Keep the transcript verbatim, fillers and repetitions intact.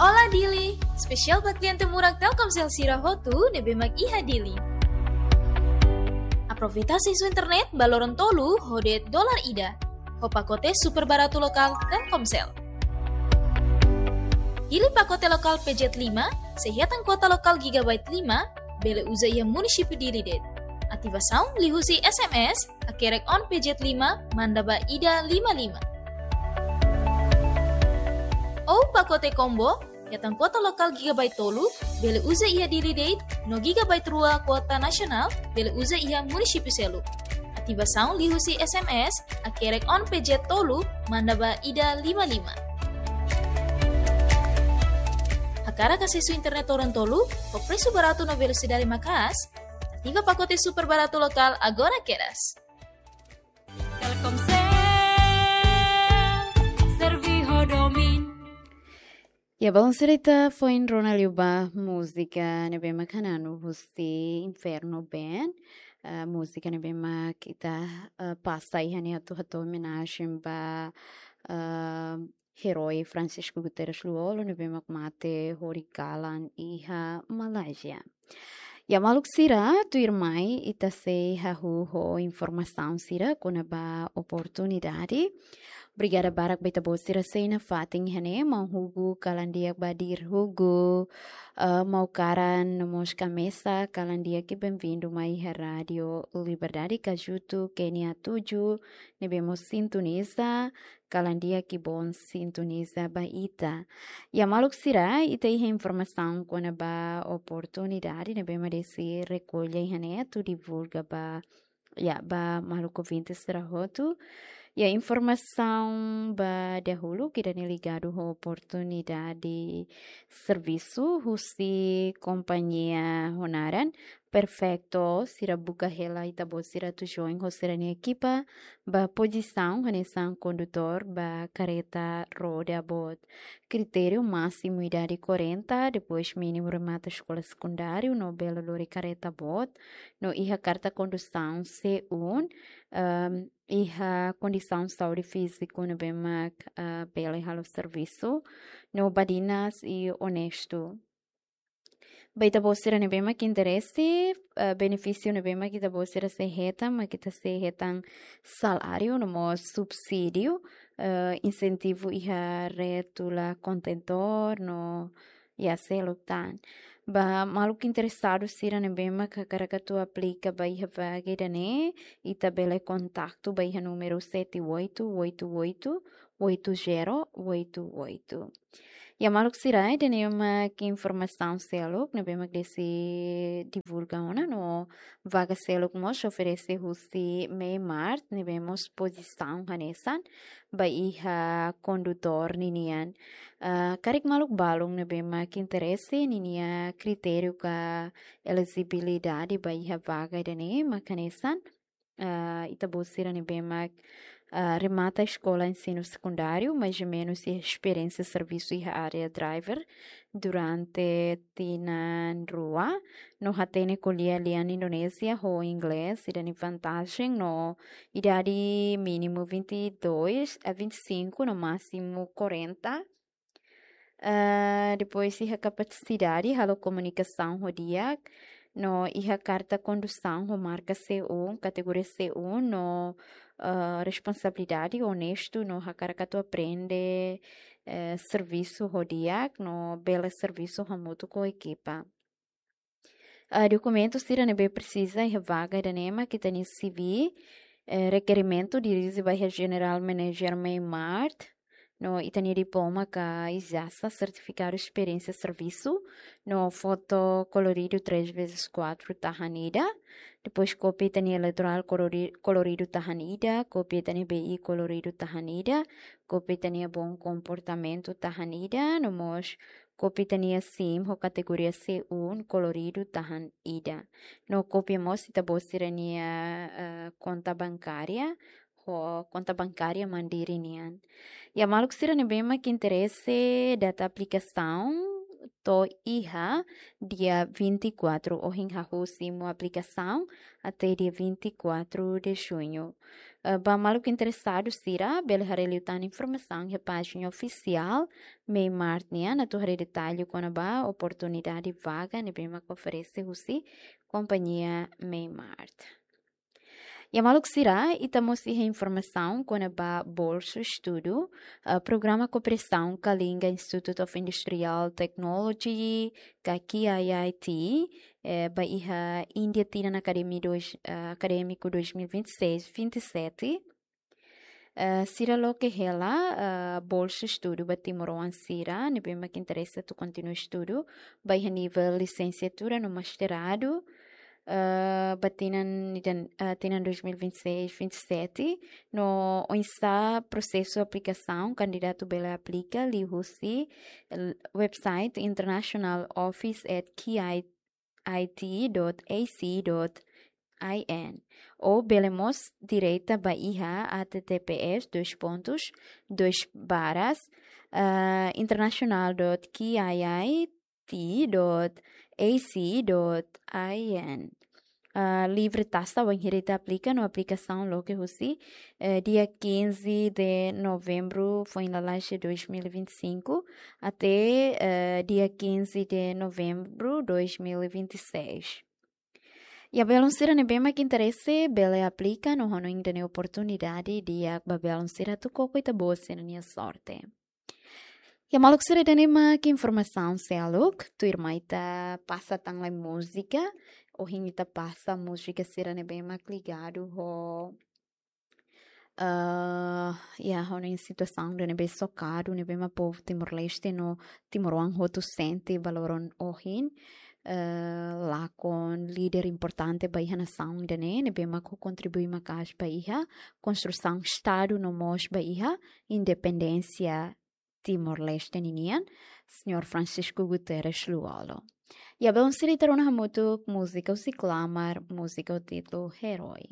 Olá Dili! Espesiál ba kliente murak Telkomsel sira hotu ne'ebé mak iha Dili. Aproveita asesu internet ba loron tolu ho de'it dolar ida, ho pakote super baratu lokál Telkomsel. Hili pakote lokál P Z lima, sei hetan kuota lokál gigabyte lima, bele uza iha munisípiu Dili de'it. Ativasaun liuhusi S M S, hakerek on P Z lima, manda ba ida lima lima. Ou pakote combo, hetan kuota lokál gigabyte tolu, bele uza iha Dili de'it, no gigabyte rua kuota nasionál, bele uza iha munisípiu seluk. Ativasaun liuhusi S M S, hakerek on P Z tolu, manda ba ida lima lima. Hakarak asesu internet loron tolu, ho presu baratu no velosidade maka'as, ativa pakote super baratu lokál agora kedas. Telkomsel, serve ho domin. Ya, balun sira, ita foin rona liu ba múzika ne'ebé mak hananu husi Inferno Band. Ah, múzika ne'ebé mak ita, ah, pasa iha ne'e atu hato'o omenajen ba, ah, herói Francisco Guterres Lú-Olo ne'ebé mak mate hori kalan iha Malázia. Ya, maluk sira, tuirmai ita sei hahú ho informasaun sira kona-ba oportunidade. Obrigada barak ba ita-boot sira sei nafatin iha ne'e, maun Hugo kalan di'ak, Badir Hugo, eh, maun Karan no mós Kamesa kalan di'ak, i benvindu mai iha Rádio Liberdade, Kajutu, Kenia tuju, ne'ebé mós sintoniza, kalan di'ak, i bon sintoniza ba ita. Ya, maluk sira, ita iha informasaun kona-ba oportunidade ne'ebé mak Desi rekolla iha ne'e atu divulga ba, ya, ba maluk ouvinte sira hotu. Ya, informasaun ba dahuluk ida-ne'e ligadu ho oportunidade servisu husi kompañia ho naran Perfecto, sira buka hela ita-boot sira atu join ho sira-nia ekipa ba pozisaun hanesan kondutór ba kareta roda boot. Kritériu másimu idade quarenta, depois mínimu remata eskola sekundáriu no bele lori kareta boot, no iha karta kondusaun C um, ehm, iha kondisaun saúde fíziku ne'ebé mak, ah, bele halo servisu, no badinas i onestu. Ba ita-boot sira ne'ebé mak interese, eh, benefísiu ne'ebé mak ita-boot sira sei hetan, mak ita sei hetan saláriu no mós subsídiu, eh, insentivu iha retula kontentór no, ya, seluk tan. Ba maluk interesadu sira ne'ebé mak hakarak atu aplika ba iha vaga ida-ne'e, ita bele kontaktu ba iha númeru sete oito oito oito, oito zero oito oito. Ya, maluk sira, ida-ne'e mak informasaun seluk ne'ebé mak Desi divulga ona, no vaga seluk mós oferese husi Meimart, ne'ebé mós pozisaun hanesan ba iha kondutór ninian. Ah, karik maluk balun ne'ebé mak interese, ninia kritériu ka elejibilidade ba iha vaga ida-ne'e mak hanesan, ah, ita-boot sira ne'ebé mak, ah, remata eskola ensinu sekundáriu, mais ou menus iha esperiénsia servisu iha área driver durante tinan rua, no hatene ko'alia lian Indonézia ho Inglés, ida-ne'e vantajen, no idade mínimu vinte e dois a vinte e cinco, no másimu quarenta. Ah, depois iha kapasidade halo komunikasaun ho di'ak, no iha karta kondusaun ho marka C um, kategoria C um, no, ah, responsabilidade, onestu, no hakarak atu aprende, eh, servisu ho di'ak, no bele servisu hamutuk ho ekipa. Ah, dokumentu sira ne'ebé presiza iha vaga ida-ne'e mak ita-nia C V, eh, rekerimentu dirije ba iha General Manager Meimart, no ita-nia diploma ka ijazah, sertifikadu esperiénsia servisu, no foto koloridu três vezes quatro tahan ida, depois kópia ita-nia eleitorál kolori-, koloridu tahan ida, kópia ita-nia B I koloridu tahan ida, kópia ita-nia bom komportamentu tahan ida, no mós kópia ita-nia SIM ho kategoria C um koloridu tahan ida. No kópia mós ita-boot sira-nia, eh, konta bankária, ho konta bankária Mandiri nian. Ya, maluk sira ne'ebé mak interese data aplikasaun, to'o iha dia vinte e quatro, ohin hahú simu aplikasaun até dia vinte e quatro de junho. Eh, ba maluk interesadu sira, bele haree liután informasaun iha pájina ofisiál Meimart nian, atu haree detallu kona-ba oportunidade vaga ne'ebé mak oferese husi kompañia Meimart. Ya maluk sira, ita mós iha informasaun kona-ba bolsu estudu, eh, programa kooperasaun ka liga Institute of Industrial Technology, ka K I I T, eh, ba iha Índia tinan akademi dois, eh, akadémiku dois mil e vinte e seis, vinte e sete. Eh, sira loke hela, eh, bolsu estudu ba timoroan sira ne'ebé mak interese atu kontinua estudu ba iha nivel lisensiatura no mestradu, eh, ba tinan, tinan, eh, tinan dois mil e vinte e seis, vinte e sete, no oinsá prosesu aplikasaun, kandidatu bele aplika liuhusi, eh, website international office at K I I T dot A C dot I N. Ou bele mós direta ba iha H T T P S dois pontos, dois barras, eh, international dot K I I T dot A C dot I N. Ah, livre taxa wainhira ita aplika no aplikasaun loke husi, eh, dia quinze de novembro foin lalais dois mil e vinte e cinco até, eh, dia quinze de novembro dois mil e vinte e seis. Ya belun sira ne'ebé mak interese bele aplika no hanoin ida-ne'e oportunidade di'ak ba belun sira atu koko ita-boot sira-nia sorte. Ya maluk sira, ida-ne'e mak informasaun seluk, tuirmai ita pasa tan lai múzika, ohin ita pasa múzika sira ne'ebé mak ligadu ho, eh, ya, ho nia situasaun ida ne'ebé sokadu, ne'ebé mak povu Timor-Leste no timoroan hotu sente ba loron ohin, eh, lakon líder importante ba iha nasaun ida-ne'e, ne'ebé mak kontribui maka'as ba iha konstrusaun Estadu no mós ba iha independénsia Timor-Leste ninian, Señór Francisco Guterres Lú-Olo. Ya belun sira, ita rona hamutuk múzika husi Klamar, múzika ho títulu Herói.